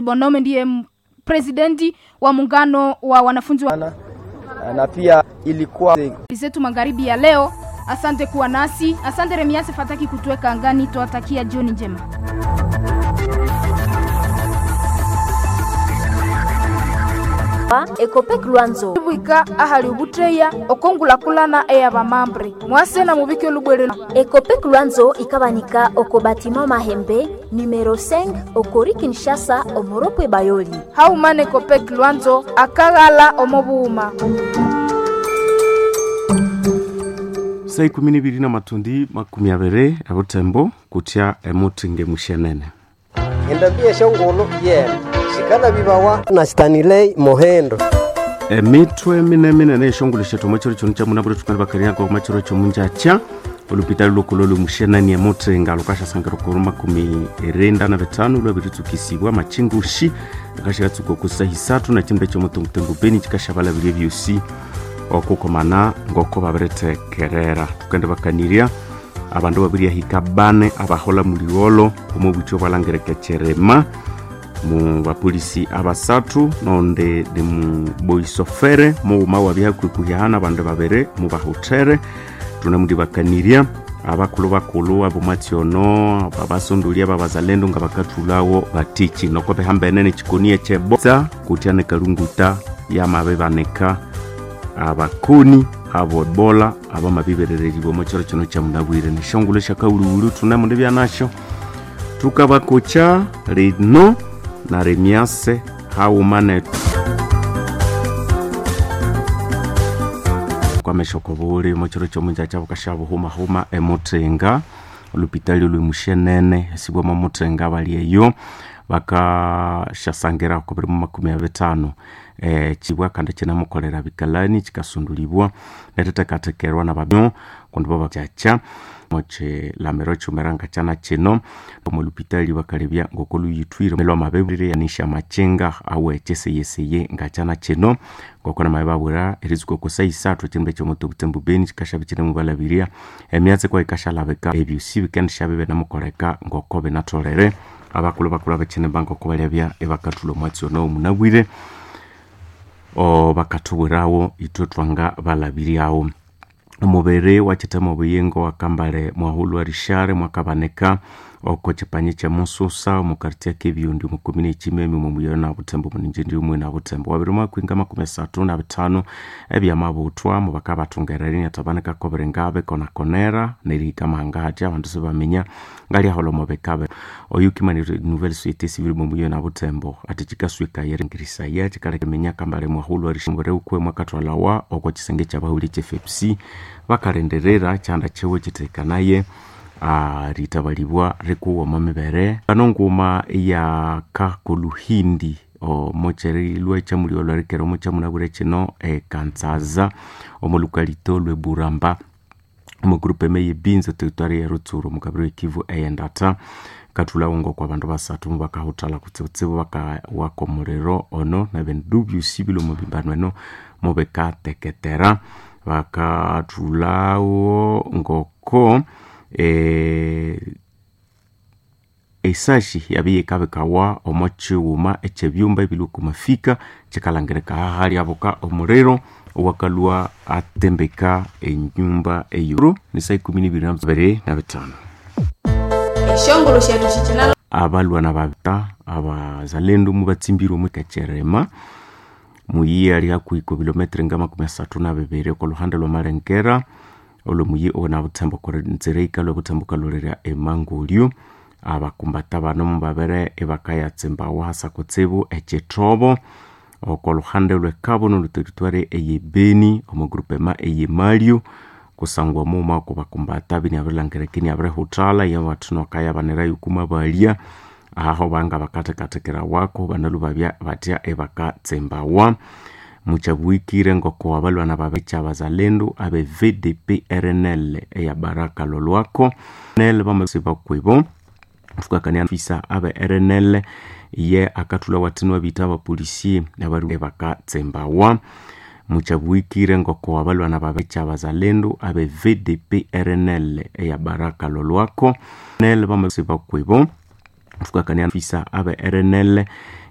Bonome ndiye presidenti wa muungano wa wanafunzi wa na pia ilikuwa zetu magharibi ya leo. Asante kuwa nasi, asante Remiase Fataki kutuweka angani. Tuwatakia jioni njema. Ekopek Lwanzo Bwika ahali ubutreya okongulakulana eyabamambre mwase na mubike olubwere. Ekopek Lwanzo ikabanika oko batima Mahembe numero 5 okori Kinshasa omoropwe Bayoli. Haumana Ekopek Lwanzo akaghala omobuhuma. Saa 12 na matundi 20 ebutembo kutya emutinge mushenene. Endabia shongolo yena shikala bibawa na Stanley Mohendo. Emitwe mineminene eshongolo shetu omwechiro kino kyamunabwire tukali bakariaga omwechiro kyomunjakya olupitali lukulu lwemushenani emutinga lukashasangira okuru 95 lwabiritsukisibwa machingushi akashatsuka okusaha isathu na kindu ekyomutungutungu beni kikashabalabirya ebyosi okukomana ngoko babiritekerera. Tukende bakanirya abandu babiryahika bane abahola muligholo omo bwithu obwalangirika ekyerema mu bapolisi abasathu nonde ni muboisofere mughuma wabyahakwikuhyahana abandu babiri mubahuthere. Tunamudibakanirya abakulhu bakulhu abomwatsi ono abasondolya babazalendo nga bakathulhawo batiki noko bihambene nekikoni ekyebosa kutya nekalunguta yamabibanika abakoni abo ebola abamabiberereribwa omo kiro kino kyamunabwire. Neshongolo syakawuliwuli thunemundibya nasyo thukabakokya lino na Remiase haghuma nethu kwamesha okobuli omo kiro kyomunjakya bukasyabuhumahuma emuthinga olupitali olwemushenene esibwa omo muthinga abali eyo bakasyasangira oko 2050 kibwa kandi kinamukolera bikalani kikasundulibwa nerithekathekerwa nababyo kundi bo bakyakya mokilamiro kyumera ngakyana kino omo lupitali bakalebya ngoko luyithwire lwamabebire yanisha amakinga awe kyeseyeseye ngakyana kino ngoko namabe babwira eritsuka oko saha isathu ekyindu ekyomutubutembu beni kikasyabe kyinemubalabirya emyatsi kwa yikashalabika ebyosi bikendisyabe binamukoleka ngoko binatholere. Abakulhu bakulhu abekyinimba ngoko balyabya ibakathulha omwatsi ono omunabwire bakathubwirawo ithwe twanga balabiryawo. Omubiri wakyithema obuyingo wakambale mwahulhu Rishare mwakabanika oko kyipanyi kyemususa omu quartier kebyundi omu komine ekyimemi omu muyi na butembo omuninjindi omwe na butembo wabiri mwakwinga 35 ebyamabuthwa mubakabathungerera inathabanika kobiringabe konakonera nerihika amahanga hathya abandu sibaminya ngalyaholha omo bikabe. Oyu kimanire nouvelle société civile omu muyi na butembo athi kyikaswika yeringirisaya kyikaleka iminya kambale mwahulhu Rishare ukwe mwakathwalawa oko kyisenge kyabahulhi ekye FPC bakalindirira kyanda kyiwe kyithekanaye rithabalibwa rikuwa omo mibere. Pano nguma eyaka koluhindi omo kyerilwa ekyamulyolho erikera omo kyamunabwire kino ekansaza omo lukalito lweburamba omo group eme yebinza territory ya Rutsuru omu kabiro ekivu eyendatha kathulhawo ngoko abandu basathu mubakahuthalha kutsibutsibu bakawaka omuliro ono nebindu byosi bilwe omu bimbano eno mubikateketera. Bakathulhawo ngoko esashi yabi yikabikawa omo kyighuma ekyebyumba ebilwe okumafika kyikalangirika hahalyabuka omuliro owakalhwa atembeka enyumba eyo. Ni saa 12:25. Eshongolo shetu shikinalo abalwana babita abazalendo mubatsimbirwe omu kakyerema muyi ali hakuhi ku kilometre nga 32 oko luhande lwamalengera olwo muyi ona butembo nzira ikalwa butembo kalolera emangolyo. Abakumbata bano mubabere ibakayatsimbawo hasa kutsibu ekyithobo oko luhande lwekabono olhuteritwari eyebeni omu groupema eyemalyo kusangwa muma oko bakumbata biniabirilangirika iniabirihuthalha yabathinu akayabanirayo kumabalya aho banga bakathekathekera wako banalhu babya batya ibakatsimbawa. Mukyabwikire ngoko abalwana babekya abazalendo abe VDP RNL eya Baraka Lolwako nel bamasiba kwibo tukakania fisa abe RNL ye akathulha wathinu abitha abapolisi abaru ibakatsimbawa. Mukyabwikire ngoko abalwana babekya abazalendo abe VDP RNL eya Baraka Lolwako nel bamasiba kwibo tukakania fisa abe RNL.